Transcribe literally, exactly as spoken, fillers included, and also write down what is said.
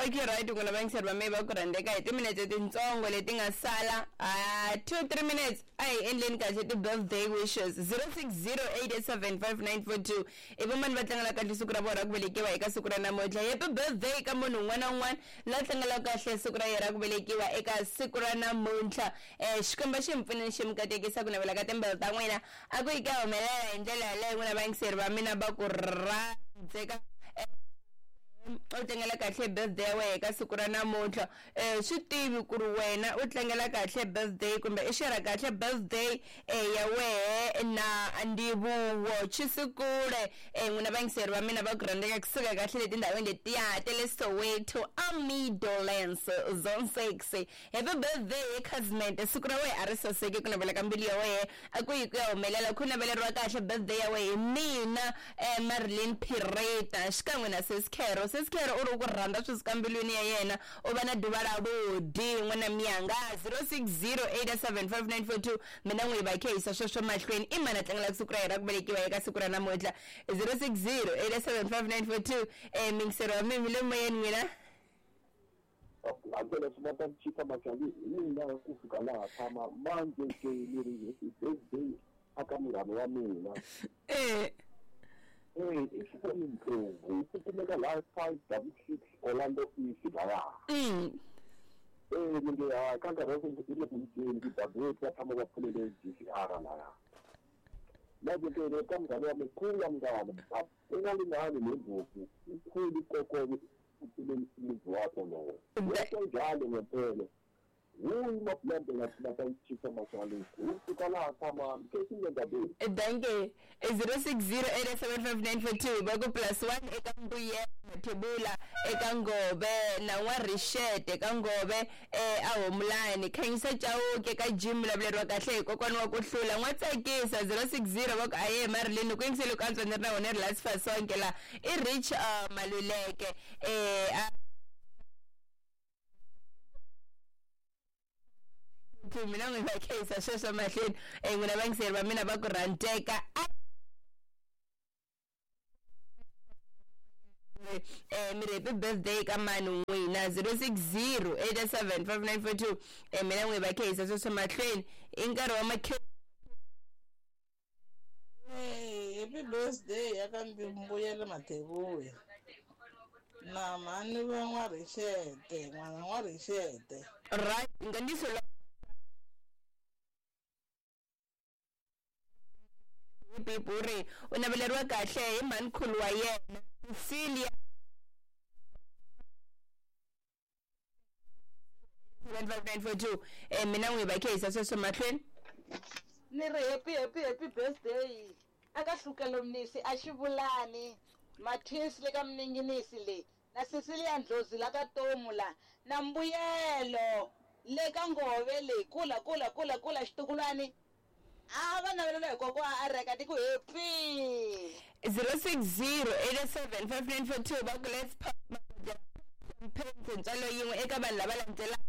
Okay, right, n'wina vayingiseri va mehe va ku rhandzeka hi timinetse tintsongo leti nga sala uh, two three minutes a hi endleni kahle ti-birthday wishes zero six zero eight eight seven five nine four two i vamani va tlangela kahle siku ra vona ra ku velekiwa eka siku ra namuntlha. Happy birthday ka munhu un'wana na un'wana la tlangelaka kahle siku ra yena ra ku velekiwa eka siku ra namuntlha. um Xikwembu xi mi pfuneni xi mi katekisa ku navela ka timbilu ta n'wina a ku yi ka humelela hi ndlela yaleyo. N'wina vayingiseri va mina va ku rhandzeka u tlangela kahle birthday ya wena eka siku ra namuntlha. um swi tivi ku ri wena u tlangela kahle birthday kumbe i xera kahle birthday um ya wehe na Ndivuwo Chisikule. um n'wina vayingiseri va mina va ku rhandzeka kusuka kahle letindhawini letiya ta le Soweto Amidolands zone six. Happy birthday Khazmente, siku ra wena a ri saseki ku navela ka mbilu ya wehe a ku yi ku ya humelela. Ku naveleriwa kahle birthday ya wehe hi mina um Marilyn Pireta xikan'we na Sesikhero. Sesikhero u ri ku rhandza swi suka mbilwini ya yena u va na duva ra vudi n'wana miyanga zero six zero eight seven five nine four two. Mina n'wi va khehisa sweswo mahlweni i mani a tlangelaka siku ra yena ra ku velekiwa eka siku ra namuntlha zero six zero eight seven five nine four two. um mingisero wa mimi le moyeni n'wina Hakela swi va ta chipa machali hi mina ku fika laha tshama manje ke ni ri happy birthday aka munghana wa mina. Eh Eh, i Xikwembu Ndlovu ku kumeka laha five double six Orlando East laya. Mm. Eh, ni nge ha ka nkarhi wa sweswi i le ku dyeni ti-W va tshama va pfulele G C R laya. Manje ke le ka munghana wa mina kula munghana u nga lingani nembhuku ukhulu kokobe uphile umuzi wakho lowo. Yonke njalo ngempela. Wuyi maplante ngathi chipa machali ufika laha tshama ke ndabeni. Thank you. zero six zero eight seven five nine four two va ku plus one eka Mbuyelo Mathebula eka Ngove na n'wa Richet eka Ngove eh a Homulani Khanyisa Chauke ka Jim vulavuleriwa kahle hi kokwana wa ku hlula n'wa tsakisa zero six zero va ku aye Marilyn ku yingisele ku antswa ni ri na wona ri last fasonke la i Rich uh, Maluleke eh a mina n'wi va khehisa sweswo mahlweni um n'wina vayingiseri va mina va ku rhandzeka um mi ri happy birthday ka mani n'wina zero six zero eight seven five nine four two um mina n'wi va khehisa sweswo mahlweni i nkarhi wa makhe. Hey, happy birthday ya ka Mbuyelo Mathebula na mhani va n'wa Rixete n'wana n'wa Rixete. Right nkandziso Pipuri u naveleriwa kahle hi mhanikhulu wa yena Cecilia seven five nine four two. Eh mina n'wi va khehisa sweswo mahlweni. Ni ri happy happy happy birthday aka Hlukelo Mnisi a Xivulani Mathisi le ka Mninginisi le na Cecilia Ndlozi la ka Tomu la na Mbuyelo le ka Ngove le kula kula kula kula xitukulwani a va navelela hi kokwa a reka ti ku happy zero six zero eight seven five nine four two va ku let's pop champagne ntswalo yin'we eka vanhu lava landzelaka.